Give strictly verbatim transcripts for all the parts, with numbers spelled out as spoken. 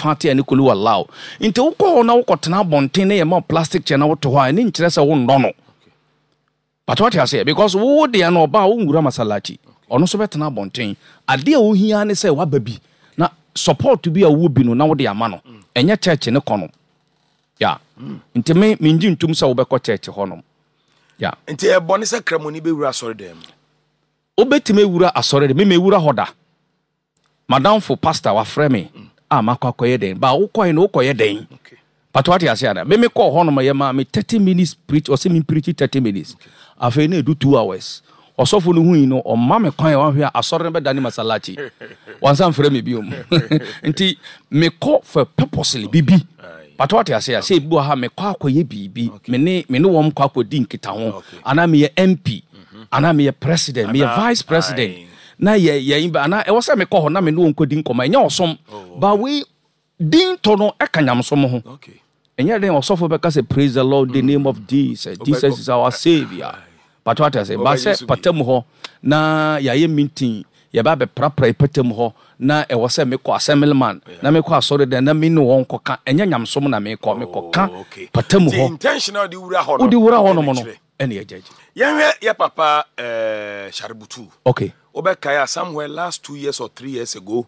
Fatia ne Kulu Wallahu. Nti wokɔ hɔ na wokɔtena abɔnten na yɛma plastic chair na wote hɔ a, ɛne nkyerɛ sɛ wonnɔ no. But wate aseɛ, because wo deɛ no, ɔba a wonwura masalachi, ɔno nso bɛtena abɔnten. Adeɛ a wohia ne sɛ waba bi na support bi a wowɔ bi no na wode ama no. Ɛnyɛ church ne kɔ no ya. Nti me mengye ntom sɛ wobɛkɔ church hɔ nom ya. Nti ɛbɔne sɛ Kramoni bɛwura asɔre dan mu? Wobɛtumi awura asɔre de, me mewura hɔ da. Madamfo pastor wafrɛ me a makɔ akɔyɛ dɛn ba. Wokɔɛ no, wokɔyɛ dɛn? Okay. But wate ase ana, me mekɔɔ hɔ nom, yɛ maa me thirty minutes preach. Ɔsɛ me preach thirty minutes, afei na ɛdu two hours. Ɔsɔfo no hui no, ɔma me kwan a wahwɛ a asɔre no bɛda ne masalachi, wansa mfrɛ me biom. Nti mekɔ for purposely bibi. But wate ase a, sɛ ebi wɔ ha, mekɔ akɔyɛ biribi, me ne me ne wɔn kɔ akɔdi nkitaho, anaa meyɛ M P, anaa meyɛ president, meyɛ Anaa- vice president aye. na yɛ yɛ anaa ɛwɔ sɛ mekɔ hɔ na me ne wɔn kɔdi nkɔmɔ. Ɛnyɛ ɔsom ba wei din tɔ no ɛka nyamsom ho. Okay. Ɛnyɛ den ɔsɔfo bɛka sɛ, "Praise the Lord, the name of Jesus, Jesus is our saviour." But wate ase ba Ɔbɛgye sɛ so bi. pata mu hɔ na yɛayɛ meeting, yɛba bɛprapra pata mu hɔ na ɛwɔ sɛ mekɔ assemblyman na mekɔ asɔre dan na me ne wɔn kɔka. Ɛnyɛ nyamsom na mekɔ mekɔka Oh, okay. pata mu Nti hɔ. Intention a wode wura hɔ no Wode wura hɔ nom ɛna no kyerɛ. ɛne ɛgyagye. Yɛnhwɛ yɛ papa eh, Sharubutu. Okay. Wobɛkae a, somewhere last two years or three years ago,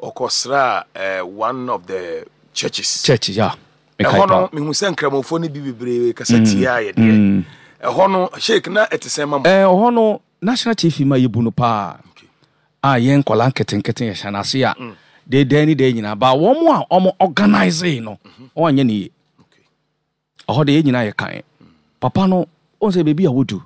ɔkɔsraa eh, one of the churches. Church ya. Ɛhɔ no, mehu sɛ Nkramofoɔ no bi bebree kasa tia yɛ deɛ. Ɛhɔ no, Sheik, na ɛte sɛn ma mo? Ɛɛ, ɔhɔ no, national chief ma yɛbu no paa a yɛn nkɔla nketenkete yɛhyɛ n'ase a de dan ne dan nyinaa ba. Wɔn a wɔn organise no, wɔn anyɛ ne yie. Okay. Ɔhɔ de, yɛn nyinaa yɛ kan papa no, wɔn sɛ beebi a wodu